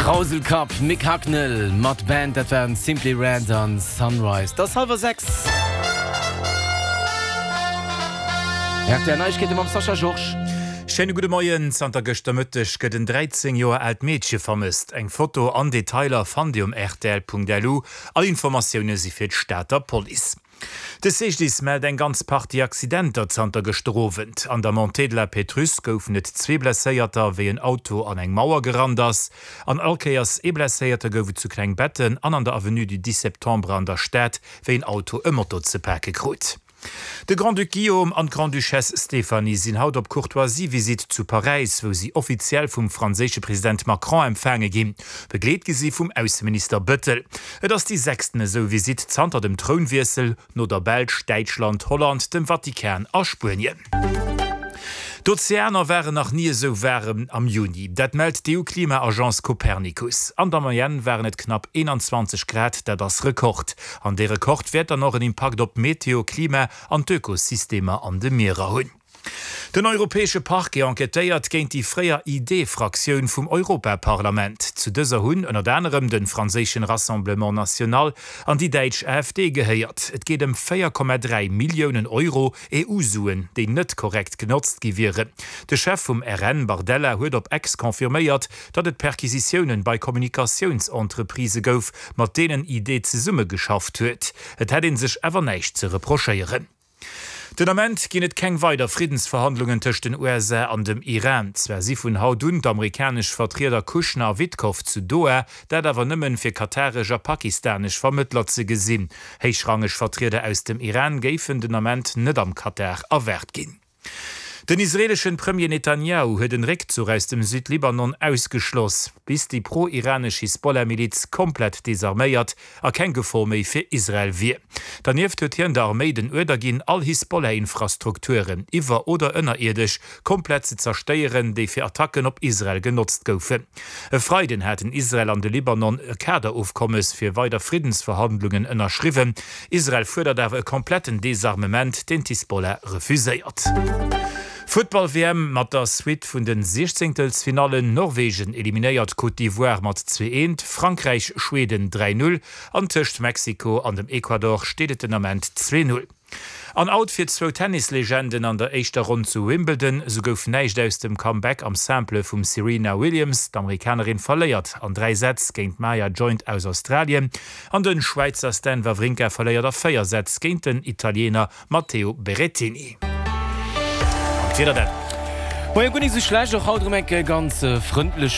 Krauselkapp Mick Hucknall mat Band, dat waren Simply Red an Sunrise. Et ass hallwer 6. Rtl Neiegkeete mam Sascha Georges. Schéine gudde Moien. Zanter gëschter Mëtteg gëtt en 13 Joer aalt Meedche vermësst. Eng Foto an Detailer fannt Dir um rtl.lu. All Informatioune si fir d'Stater Police. De CGDIS mellt eng ganz Partie Accidenter zanter gëschter Owend. An der Montée de la Pétrusse goufen et zwee Blesséierter, wéi en Auto an eng Mauer gerannt ass. An all Kéiers ee Blesséierte gouf et zu Klengbetten an an der Avenue du 10 Septembre an der Stad, wéi en Auto e Moto ze pake krut. De Grand-Duc Guillaume an d'Grande-Duchesse Stéphanie sinn haut op Courtoisie-Visitt zu Paräis, wou si offiziell vum franséische President Macron empfaange ginn. Begleet gi si vum Ausseminister Bëttel. Et ass déi sechsten esou Visitt zanter dem Trounwiessel, no der Belsch, Däitschland, Holland, dem Vatikan a Spuenien. D'Ozeaner waren nach ni esou waarem am Juni. Dat mellt d'EU-Klima-Agence Copernicus. An der Moyenne waren et knapp 21 Grad, dat ass Rekord. An dee Rekord wäert dann och en Impakt op d'Meteo, Klima an d'Ökosystemer an de Mierer hunn. Den europäesche Parquet enquêtéiert géint déi fréier ID-Fraktioun vum Europaparlament. Zu dëser hunn ënnert anerem de franséischen Rassemblement National an déi däitsch AfD gehéiert. Et geet ëm 4,3 Milliounen Euro EU-Suen, déi net korrekt genotzt gi wieren. De Chef vum RN, Bardella, huet op X confirméiert, datt et Perquisitiounen bei Kommunikatiounsentreprisë gouf, mat deenen ID zesummegeschafft huet. Et hätt ee sech awer näischt ze reprochéieren. Den Ament ginn et keng weider Friddensverhandlungen tëscht den USA an dem Iran. Zwar si vun haut un d'amerikanesch Vertrieder Kushner a Witkoff zu Doha, dat awer nëmmen fir kataresch a pakistanesch Vermëttler ze gesinn. Héichrangeg Vertrieder aus dem Iran géifen den Ament net am Katar erwaart ginn. Den israeleschen Premier Netanjahu huet en Réckzuch aus dem Südlibanon ausgeschloss, bis déi pro-iranesch Hisbollah-Miliz komplett desarméiert a keng Gefor méi fir Israel wier. Dernieft huet hien der Arméi den Uerder ginn, all Hisbollah-Infrastrukturen, iwwer oder ënnerierdesch, komplett ze zerstéieren, déi fir Attacken op Israel genotzt goufen. E Freiden haten Israel an de Libanon e Kaderofkommes fir weider Friddensverhandlungen ënnerschriwwen. Israel fuerdert awer e kompletten Desarmement, deen d'Hisbollah refuséiert. Futtball-WM mat der Suite vun de Siechzéngtelsfinallen, Norwegen eliminéiert Côte d'Ivoire mat 2, 1, Frankräich Schweden 3, 0 an tëscht Mexiko an dem Ecuador steet et den Ament 2, 0. An Out fir zwou Tennislegenden an der éischter Ronn zu Wimbledon. Sou gouf näischt aus dem Comeback am Simple vum Serena Williams. D'Amerikanerin verléiert an 3 Sätz géint d'Maya Joint aus Australien an de Schwäizer Stan Wawrinka verléiert a 4 Sätz géint den Italiener Matteo Berrettini. An d'Wieder dann? Moie, guer nik sou schlecht, och haut erëm enke ganz frëndleche.